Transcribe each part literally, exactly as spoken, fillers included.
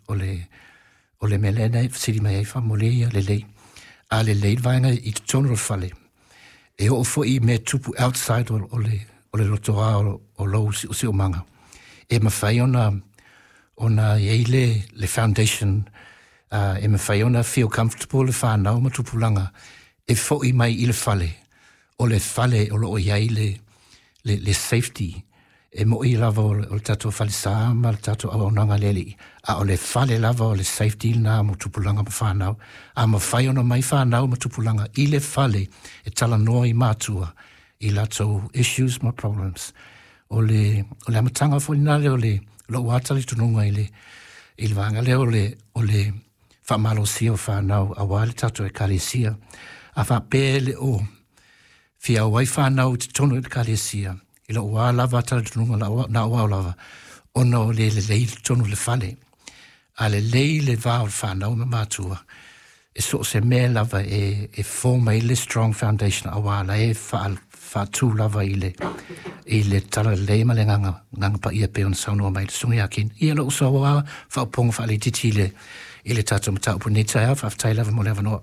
o le o le mea lea na fesili mai ai faamolemole ia lelei. A lelei le vaega i totonu o le fale, e oo foi i mea tupu outside o, o le o le lotoa o, o lou siosiomaga. E mafai ona ona i ai le, le foundation uh, e mafai ona feel comfortable le whanau ma tupulaga e fo'i mai i le fale. O le fale o loo i ai le, le, le safety e mo'i lava o le, o le tatou falesa ma le tatou auaunaga le Alii, a o le fale lava o le safety lena mo tupulaga ma whanau. A mafai ona mai whanau ma tupulaga i le fale e talanoa i matua i latou issues ma problems. O le, o le amataga foi lena lea o le lou ata talitonuga i le, i le vaega lea o le, o le faamalosia o whanau auā le tatou ekalesia. A faapea le o fia auai whanau i totonu i le ekalesia, i lou a lava talitonuga na au lava, ona o le lelei i totonu o le fale. A lelei le va o le whanau ma matua, e so o se mea lava e, e form ai le strong foundation auā la e wha, whaatū lava i le, i le tala lelei ma le agaga, agaga paia pei ona saunoa mai le susuga ia Ken. Ia lou sau a faaupuga faalaitiiti i le, i le tatou mataupu nei taeao, faafetai lava mo le avanoa.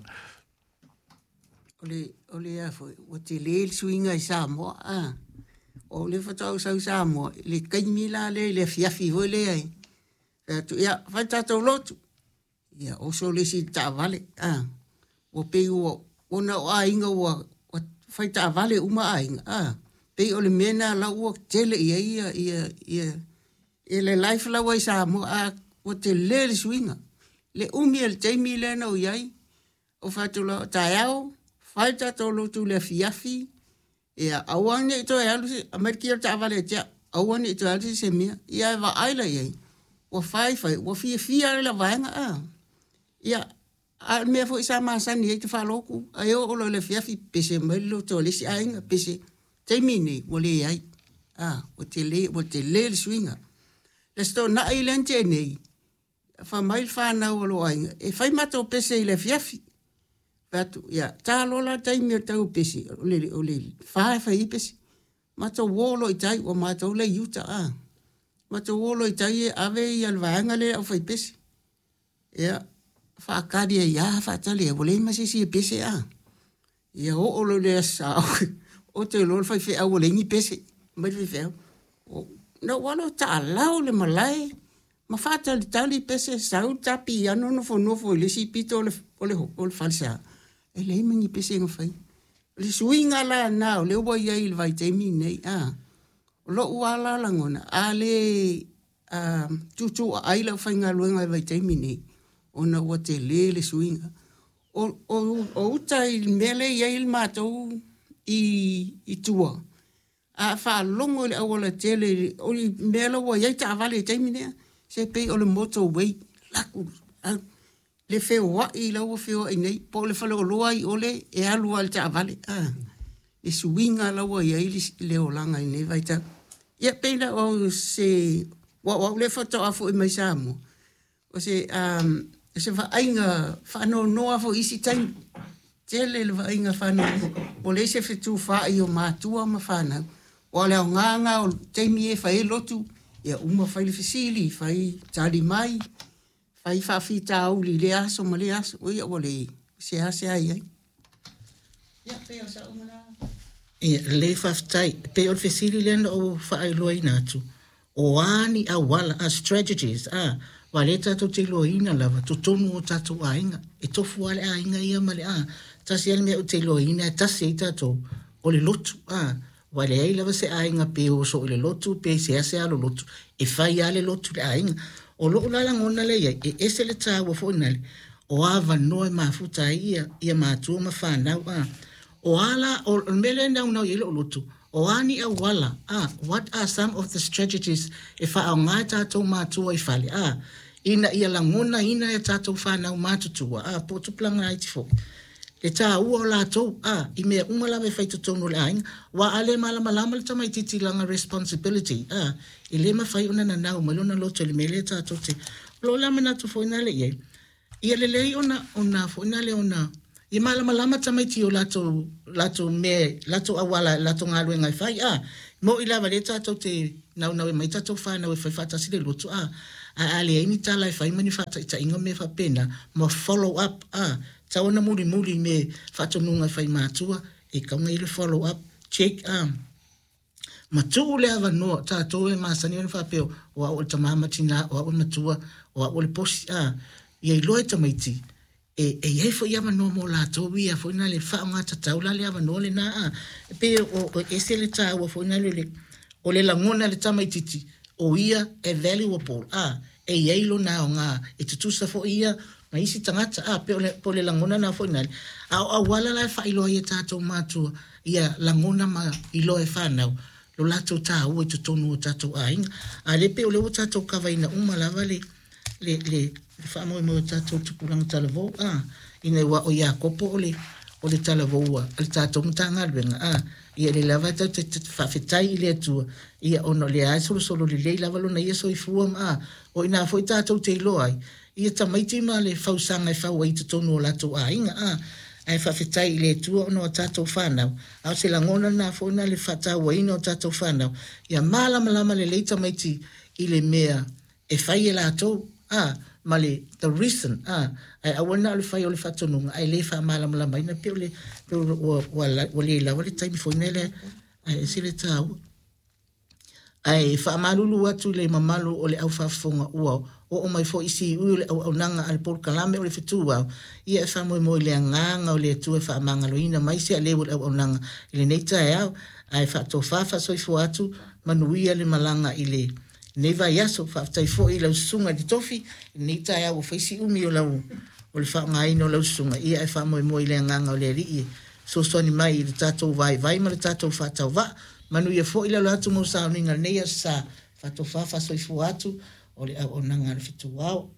O le, o le a foi, ua tele le suiga i Samoa, a. O le faatoa ou sau i Samoa, i le taimi la lea i le afiafi foi lea e fai atu, ia, fai tatou lotu. Ia, oso le isi i le taavale, a. Ua pei ua, ona o aiga ua, ua fai taavale uma aiga, a. Pei o le mea lena la ua tele i ai ia, ia, ia, ia le life la ua i Samoa, a, ua tele le suiga. Le umi o le taimi lea na ou i ai, o fai atu loa, taeao, fai tatou lotu i le afiafi, ia, aua ne i toe alu se, aumai le kia o le taavale ia te au, aua ne i toe alu se se mea. Ia e vaai la i ai, ua fai fai, ua fiafia le vaega, a. Ia, a o le mea foi sa masani ai te faalotu, ae oo loa i le afiafi, pese mai le loto a le isi aiga, pese, taimi nei, ua leai. A, ua tele, ua tele le suiga. Le Aso Toonai lea na tea nei, fai mai le whanau o lou aiga, e fai matou pese i le afiafi. Fai atu, ia, ta loa la le taimi o le tau o pese, o le, o le fa e fai ai pese. Matou o loa i tai, ua matou lea i uta, a. Matou o loa i tai e ave ia le vaega lea au fai pese. Ia, faatali ai lava, faatali ai, ua leai ma se isi e pese, a. Ia oo loa i le aso Sa, oto loa le faifeau ua leai ni pese, mai le faifeau. Na ou alu taalau le malae, ma faatalitali pese, sau le ta piano nofonofo i le isi pito o le, o le, o le falesa. E leai ma ni pese na fai. O le suiga la lena o lea ua i ai i le vaitaimi lenei, a. O lou lava la lagona, a le a, tuutuuaai le aufaigaluega i le vaitaimi lenei, ona ua tele le suiga. O, o, o uta i le mea lea e i ai le matou i, i tua, a faalogo i le aualatele, o le mea la ua i ai taavale i le taimi lea, se pei o le motorway, laku, alu, le feoai la ua feoai nei, po o le faleoloa i ole e alu lava i le taavale, a, le suiga la ua i ai le, le olaga i lenei vaitau. Ia, pei la o se, ua o au lea faatoa foi mai Samoa, o se, um, o se vaaiga faanoanoa foi i isi taimi. Tele le vaaiga faanoanoa, ua leai se fetufaai o matua ma fanau. Aua o le aoga lena o taimi e fai ai lotu, ia uma fai le fesili, fai tali mai, fai faafitauli i lea aso ma lea aso. Ia ua le seasea i ai. Ia, pei o sau lena. Ia, lelei faafetai. E pei o le fesili lea na ou faailoaina atu, o a ni auala, a strategies, a, aua lea tatou te iloaina lava totonu o tatou aiga. E tofu lava le aiga ia ma le a. Tasi lava le mea ou te iloaina e tasi ai tatou, o le lotu, a. Ua leai lava se aiga pe oso i le lotu pe seasea lo lotu, e fai lava le lotu i le aiga. O lou la lagona lea i ai, e ese le taua foi nale, o avanoa e mafuta ai ia, ia matua ma fanau, a. O a la, o le mea lea e naunau i ai lou lotu, o a ni auala, a, what are some of the strategies e faaaoga e tatou matua i fale, a, ina ia lagonaina e tatou fanau matutua, a, po o tupulaga laiti foi, le taua o latou, a, i mea uma lava e fai totonu o le aiga. Aua a le malamalama le tamaitiiti i lana responsibility, a, e le mafai ona nanau mai lona loto i le mea lea tatou te. O lou la manatu foi nale i ai, ia lelei ona, ona foi nale ona, ia malamalama tamaiti i o latou, latou mea, latou auala, latou galuega e fai, a. Mo'i lava lea tatou te naunau e aumai tatou fanau e fai faatasi le lotu, a. A a leai ni tala e fai ma ni faataitaiga mea faapena ma follow up a tau ona mulimuli me faatonuga e fai matua e kauga i le follow up check a ma tuu le avanoa tatou e masani ona faapea o au o le tamā ma tinā o au o le matua o au o le posi a ia iloa e tamaiti e e iai fo'i avanoa mo latou ia foi na le faaaogātatau la le avanoa lenā a e pei o o ese le tāua foi na le le o le lagona le tamaititi o ia e valuable a e iai lona aogā e tutusa fo'i ia ma isi tagata a pe o le po o le lagona na foi nale a o auala la e faailoa ai e tatou matua ia lagona ma iloa e fanau lo latou tāua i totonu o tatou aiga a le pei o lea ua tatou kavaina uma lava le le le le faamoemoe o tatou tupulaga talavou a ina ua o Iakopo o le o le talavoua a le tatou Matagaluega a ia le lava tatou te faafetai i le Atua ia ona o lea lava e solosolo lelei lava lona ia soifua ma a o ina foi tatou te iloa ai ia tamaiti ma le fausaga e fau ai i totonu o latou aiga a ae faafetai i le Atua ona o tatou fanau a o se lagona lena foi na le faatauaina o tatou fanau ia malamalama lelei tamaiti i le mea e fai e latou a ma le the reason a ae aua na o le fai o le faatonuga ae le faamalamalamaina pe o le pe ua ua ua le lava le taimi foi lele ae ese le taua ae faamalulu atu i le mamalu o le aufaafofoga ua oo mai foi siui o le auaunaga a le polokalame o le fetuau ia e faamoemoe i le agaga o le Atua e faamagaloina mai se aleu o le auaunaga i lenei taeao ae faatofā faasoifua atu manuia le malaga i le lenei vaiaso. Faafetai foi i lau susuga i le tofi i lenei taeao ua fai si umi o lau o le faaaogaina o lau susuga ia e faamoemoe i le agaga o le Alii e fesoasoani mai i le tatou vaivai ma le tatou faatauvaa. Manuia foi le alo atu mo sauniga lenei aso sa faatofā faasoifua atu o le auaunaga a le fetuao.